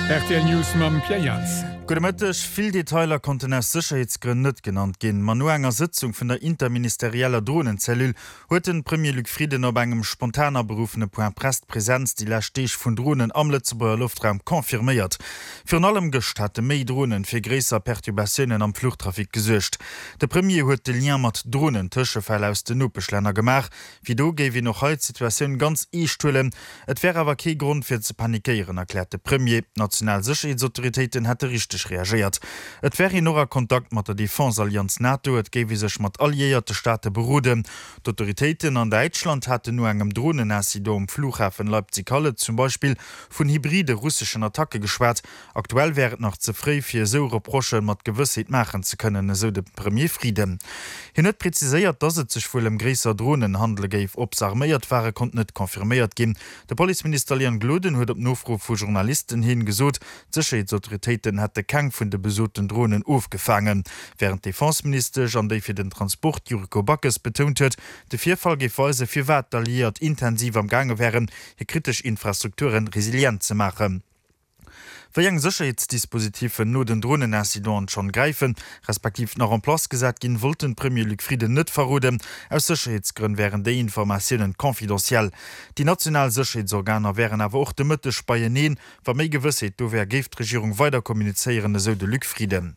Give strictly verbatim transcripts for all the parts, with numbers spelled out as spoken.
Rtl News mam Pierre Jans. Gudde Mëtteg. Vill Detailer konnten aus Sécherheetsgrënn net genannt ginn, ma no enger Sëtzung vun der interministerieller Dronencellule huet de Premier Luc Frieden op engem spontan aberuffene Point Presse d'Presenz déi lescht Deeg vun Dronen am Lëtzebuerger Loftraum confirméiert. Virun allem gëscht hate méi Dronen fir gréisser Perturbatiounen am Fluchtrafic gesuergt. De Premier huet de Lien mat Dronen-Tëschefäll aus den Nopeschlänner gemaach. Wéi do géif een och hei d'Situatioun ganz eescht huelen. Et wär awer kee Grond fir ze panikéieren, erkläert de Premier. D'national Sécherheetsautoritéiten hätte richteg reagéiert. Et wär een och a Kontakt mat der Defense-Allianz NATO, et géif ee sech mat alliéierte Staate beroden. D'Autoritéiten an Däitschland haten no engem Dronenincident um Flughafen Leipzig-Halle zum Beispill vun hybride russeschen Attacke geschwat. Aktuell wär et nach ze fréi fir esou Reprochë mat Gewëssheet maachen ze kënnen, esou de Premier Frieden. Hien huet präziséiert, datt et sech wuel ëm gréisser Dronen handele géif. Ob se arméiert ware konnt net confirméiert ginn. De Policeminister Leon Gloden huet op Nofro vu Journalisten hin gesot, d'Sécherheetsautoritéiten hätte keng vun de besoten Dronen ofgefaangen. Wärend d'Defenseministesch an déi fir den Transport Yuriko Backes betount huet, de Virfall géif weisen, firwat d'Alliéiert intensiv am gaange wären, hir kritesch Infrastrukture resilient ze maachen. Wéi eng Sécherheetsdispositiffen no den Dronenincidenten schonn gräifen, respektiv nach en place gesat ginn, wollt de Premier Luc Frieden net verroden. Aus Sécherheetsgrënn wären déi Informatiounen confidentiel. Déi national Sécherheetsorganer wären awer och de Mëtteg beieneen. Wa méi Gewëssheet do wär, géif d'Regierung weider kommunizéieren, esou de Luc Frieden.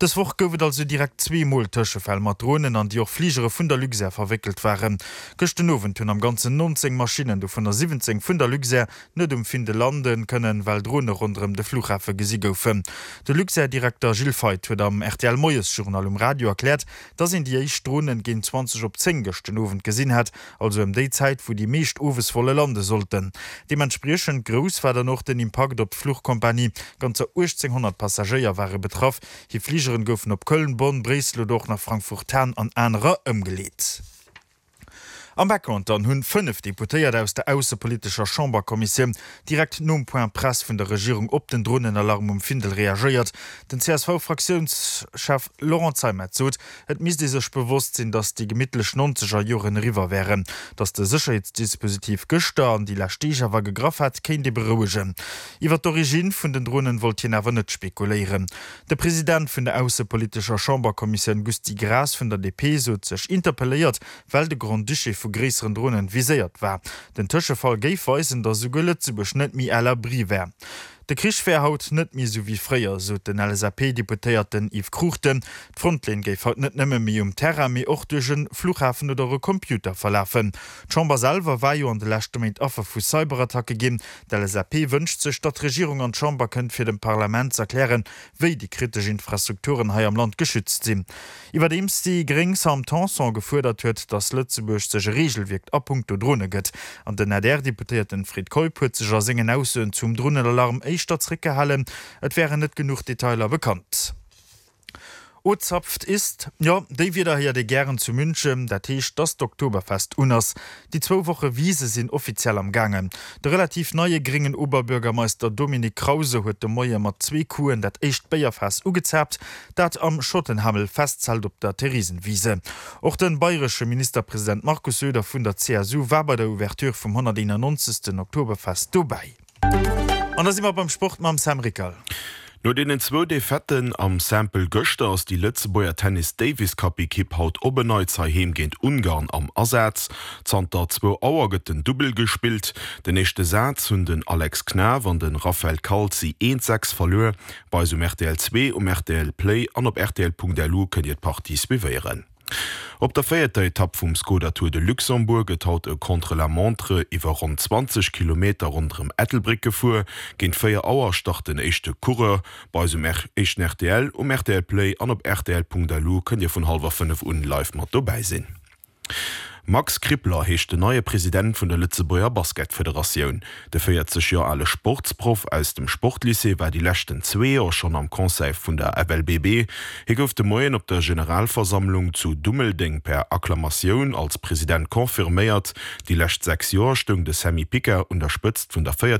Dës Woch gouf et also direkt zwee Mol Tëschefäll mat Dronen, an déi och Fligere vun der Luxair verwéckelt waren. Gëscht den Owend hunn am Ganzen nonzéng Maschinnen, dovunner siwwenzéng vun der Luxair, net um Findel lande kënnen, well Drone ronderëm de Flughafe gesi goufen. De Luxair-Direkter Gilles Feith huet am R T L-Moiesjournal um Radio erkläert, dass een déi éischt Dronen géint zwanzeg op zéng gëscht den Owend gesinn hätt, also ëm déi Zäit, wou déi meescht owes wolle lande sollten. Deementspriechend grouss war dann och den Impakt op d'Fluchkompanie, Ganzer uechtzénghonnert Passagéier ware betraff. Hir Fligeren goufen op Köln, Bonn, Bréissel oder och nach Frankfurt-Hahn an anerer ëmgeleet. Am Background dann hunn fënnef Deputéiert aus der aussepolitescher Chamberkommissioun direkt nom Point Presse vun der Regierung op den Dronenalarm um Findel reagéiert. Den C S V-Fraktiounschef Laurent Zeimet sot, et misst ee sech bewosst sinn, datt déi gemittlech nonzeger Joren eriwwer wären. Datt de Sécherheetsdispositif gëschter an déi lescht Deeg awer gegraff hätt, kéint ee berouegen. Iwwer d'Originn vun den Dronen wollt hien awer net spekuléieren. De President vun der aussepolitescher Chamberkommissioun Gusty Graas vun der D P sot sech interpelléiert, well de Grand-Duché vu gréisseren Dronen viséiert war. Den Tëschefall géif weisen, datt esouguer Lëtzebuerg net méi à l'abri wär. De Krich wär haut net méi esou wéi fréier, sot den L S A P-Deputéierten Yves Cruchten. D'Frontlinn géif haut net nëmme méi um Terrain, mee och duerch e Flughafen oder e Computer verlafen. D'Chamber selwer war jo an de leschte Méint Affer vu Cyberattacke ginn. D'L S A P wënscht sech, datt d'Regierung an d'Chamber kënnt, fir dem Parlament z'erklären, wéi déi kritesch Infrastrukturen hei am Land geschützt sinn. Iwwerdeems déi gréng Sam Tanson gefuerdert huet, datt Lëtzebuerg sech e Reegelwierk a punkto Drone gëtt. An den A D R-Deputéierten Fred Keup huet sech a sengen Aussoen zum Dronenalarm éischter zréckgehalen, et wären net genuch Detailer bekannt. Ozapft ist, jo, déi Wierder héiert ee gären zu München, dat heescht, dass d'Oktoberfest un ass. Déi zwou Woche Wise sinn offiziell am gaangen. De relativ neie gréngen Oberbürgermeister Dominik Krause huet de Moie mat zwee Couen dat éischt Béierfaass ugezaapt, dat am Schottenhamel Festzelt op der Theresienwiese. Och de bayresche Ministerpresident Markus Söder vun der C S U war bei der Ouverture vum honnerteenannonzegsten Oktoberfest dobäi. An da si mer beim Sport mam Sam Rickal. No deenen zwou Defaiten am Simple gëschter ass déi Lëtzebuerger Tennis Davis Cup Ekipp haut op en Neits heiheem géint Ungarn am Asaz. Zanter zwou Auer gëtt den Dubbel gespillt. Den éischte Saz hunn den Alex Knaff an de Raphael Calzi eent sechs verluer. Bei eis um R T L zwee, um R T L Play an op R T L Punkt L U kënnt Dir d'Partie suivéieren. Op der véierter Etapp vum Skoda Tour de Luxembourg gëtt haut e Contre-la-montre iwwer ronn zwanzeg Kilometer ronderëm Ettelbréck gefuer. Géint véier Auer start den éischte Coureur. Bei eis um éischten R T L, um R T L Play an op R T L Punkt L U kënnt Dir vun hallwer fënnef un live mat dobäi sinn. Max Krippler heescht den neie President vun der Lëtzebuerger Basketfederatioun. De véierzeg Joer ale Sportsproff aus dem Sportlycée war déi leschten zwee Joer schonn am Conseil vun der F L B B. Hie gouf de Moien op der Generalversammlung zu Dummeldeng per Akklamatioun als President confirméiert. Déi lescht sechs Joer stoung de Sammy Picker un der Spëtzt vun der